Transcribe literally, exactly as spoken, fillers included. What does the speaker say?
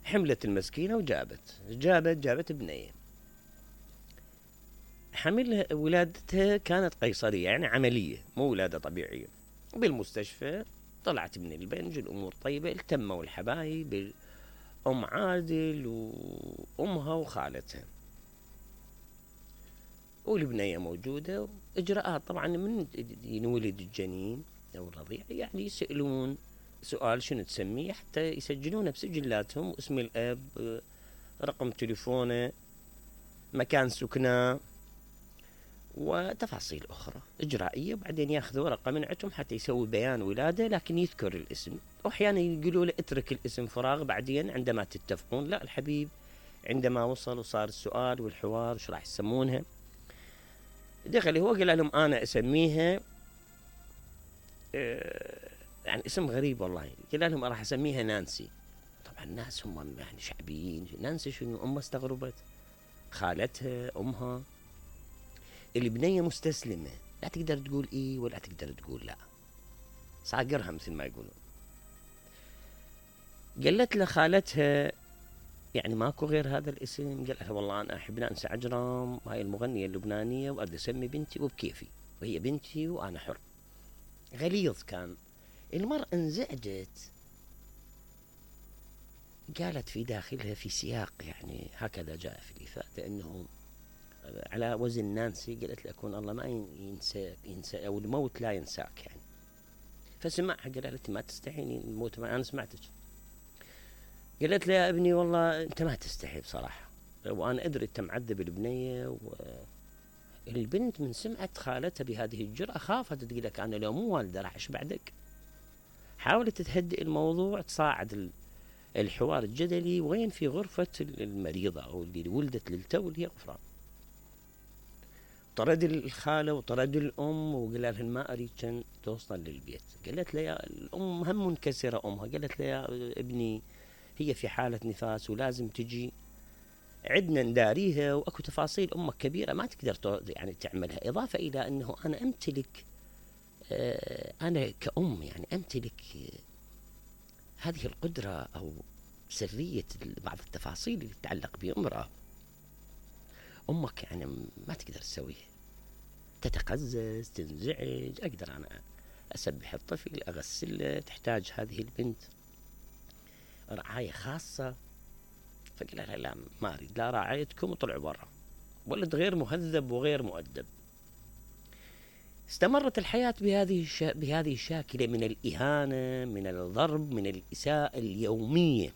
حملت المسكينة وجابت جابت جابت بنية. حمل ولادتها كانت قيصرية يعني عملية مو ولادة طبيعية. بالمستشفى طلعت من البنج الأمور طيبة، التموا الحبايب أم عادل وأمها وخالتها والبنية موجودة. إجراءات طبعا من ينولد الجنين أو الرضيع يعني يسألون سؤال شنو تسميه حتى يسجلونه بسجلاتهم، اسم الأب، رقم تليفونه، مكان سكنه وتفاصيل أخرى إجرائية. وبعدين ياخذ ورقة من عندهم حتى يسوي بيان ولادة لكن يذكر الاسم، وأحيانا يقولوا له اترك الاسم فراغ بعدين عندما تتفقون. لا الحبيب عندما وصل وصار السؤال والحوار شو راح يسمونها دخل هو قال لهم أنا أسميها اه يعني اسم غريب والله، قال لهم راح أسميها نانسي. طبعا الناس هم يعني شعبيين، نانسي شنو؟ أمها استغربت، خالتها، أمها. البنية مستسلمة، لا تقدر تقول إيه ولا تقدر تقول لا، صاقرها مثل ما يقولون. قالت له خالتها يعني ماكو غير هذا الاسم؟ قال لها والله أنا أحب نانسي عجرم، هاي المغنية اللبنانية وأقدر أسمي بنتي وبكيفي، وهي بنتي وأنا حر. غليظ كان. المرأة انزعجت، قالت في داخلها في سياق يعني هكذا جاء في الإفادة أنه على وزن نانسي، قالت لأكون الله ما ينسى ينسى أو الموت لا ينساك يعني. فسمعها قالت ما تستحيني الموت، ما أنا سمعتك. قالت له يا ابني والله أنت ما تستحي بصراحة، وأنا أدري أنت معذب البنية. والبنت من سمعت خالتها بهذه الجرأة خافت، تقول لك أنا لو مو والدة راح إيش بعدك. حاولت تهدئ الموضوع، تصاعد الحوار الجدلي وين في غرفة المريضة أو اللي ولدت للتو اللي هي غفران. طرد الخالة وطرد الأم وقال لها ما أريد كان توصل للبيت. قالت له يا الأم هم منكسرة أمها، قالت له يا ابني هي في حالة نفاس ولازم تجي عدنا نداريها، وأكو تفاصيل أمك كبيرة ما تقدر يعني تعملها. إضافة إلى أنه أنا أمتلك آه أنا كأم يعني أمتلك آه هذه القدرة أو سرية بعض التفاصيل اللي تتعلق بامرأة. أمك يعني ما تقدر تسويها، تتقزز تنزعج، أقدر أنا أسبح الطفل أغسله، تحتاج هذه البنت رعاية خاصة. فقال لها لا ما أريد لا رعايتكم، وطلعوا برا. ولد غير مهذب وغير مؤدب. استمرت الحياة بهذه الش... بهذه الشاكلة من الإهانة، من الضرب، من الإساءة اليومية.